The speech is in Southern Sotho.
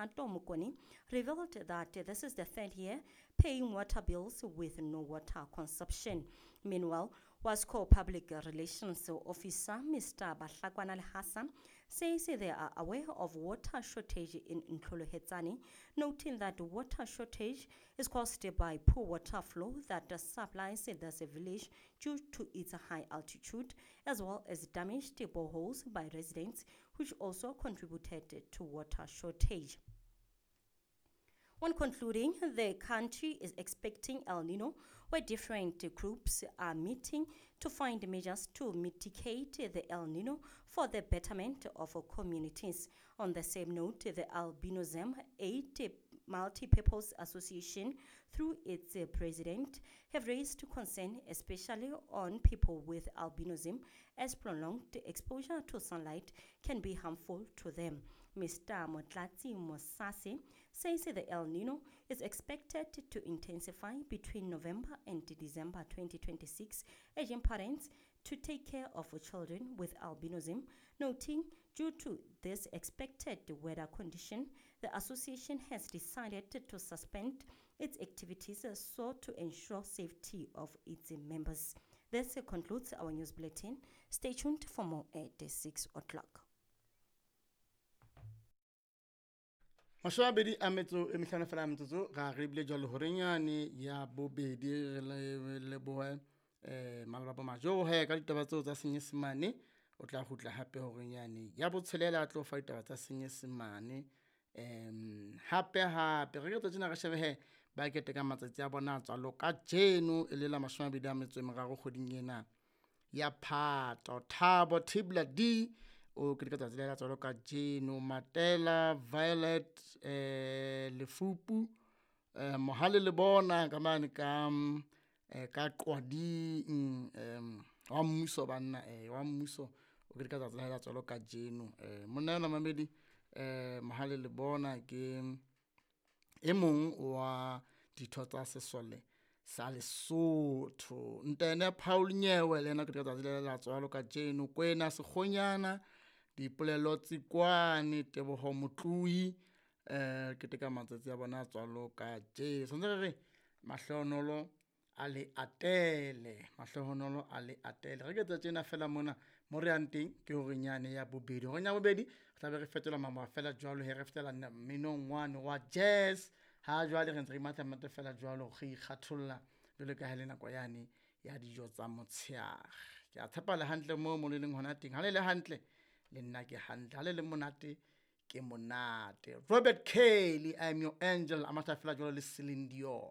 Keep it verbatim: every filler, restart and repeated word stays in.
Thato Mokone, revealed that this is the third year paying water bills with no water consumption. Meanwhile, WASCO Public Relations Officer Mister Bahlakwana Lehasa says they are aware of water shortage in Ntlholohetsane, noting that water shortage is caused by poor water flow that supplies this village due to its high altitude, as well as damaged boreholes by residents, which also contributed to water shortage. On concluding, the country is expecting El Nino, where different groups are meeting to find measures to mitigate the El Nino for the betterment of communities. On the same note, the Albinism Aid Multipurpose Association, through its president, have raised concern, especially on people with albinism, as prolonged exposure to sunlight can be harmful to them. Mister Motlatsi Mosase says the El Nino is expected to intensify between November and December twenty twenty-six, urging parents to take care of children with albinism, noting due to this expected weather condition, the association has decided to suspend its activities so to ensure safety of its members. This concludes our news bulletin. Stay tuned for more at six o'clock. Mashome a mabedi a metso e mehlano fela metsotso ra re bile jwalo horenyane ya bobedi re le lebohe eh Malebabo Majohe ka ditaba tseo tsa Senyesemane. O tla kgutla hape horenyane ya botshelela a tlo fa ditaba tsa Senyesemane. Em hape hape re ke tsena re shebe he ba keteka matsatsi a bona a tswalo ka jeno e le la mashome a mabedi a metso e meraro kgweding ena ya Phato. Thabo Tibla D o keteka tsatsi la tswalo ka jeno. Matela Violet eh Lefupu eh Mohale le bona ka mane ka eh ka Qwading em wa mmuso banna eh wa mmuso o keteka tsatsi la tswalo ka jeno. Eh monna yona mamedi eh Mohale le bona ke e mong wa ditho tsa sesole sa Lesotho. Ntene Paul Nyewe le yena keteka tsatsi la tswalo ka jeno. Kwena Sekgonyana Dipolelo Tsikwane Teboho Motloi eh keteka matsatsi a bona a tswalo ka jeno. Santse re re mahlohonolo a le atele, mahlohonolo a le atele. Re ke tsa tjena fela mona mo re yang teng ke horenyane ya bobedi. Horeng ya bobedi re tla be re fetola mama fela jwalo he re fetela mminong wane wa jazz. Ha jwale re ntse re matla fela jwalo re ikgatholla jwalo ka ha le nako yane ya dijo tsa motshehare. Ke a tshepa le hantle moo mo le leng hona teng. Ha le le hantle le nna ke hantle, ha le le monate ke monate. Robert Kelly, I am your angel, a matla fela jwalo le Celine Dion.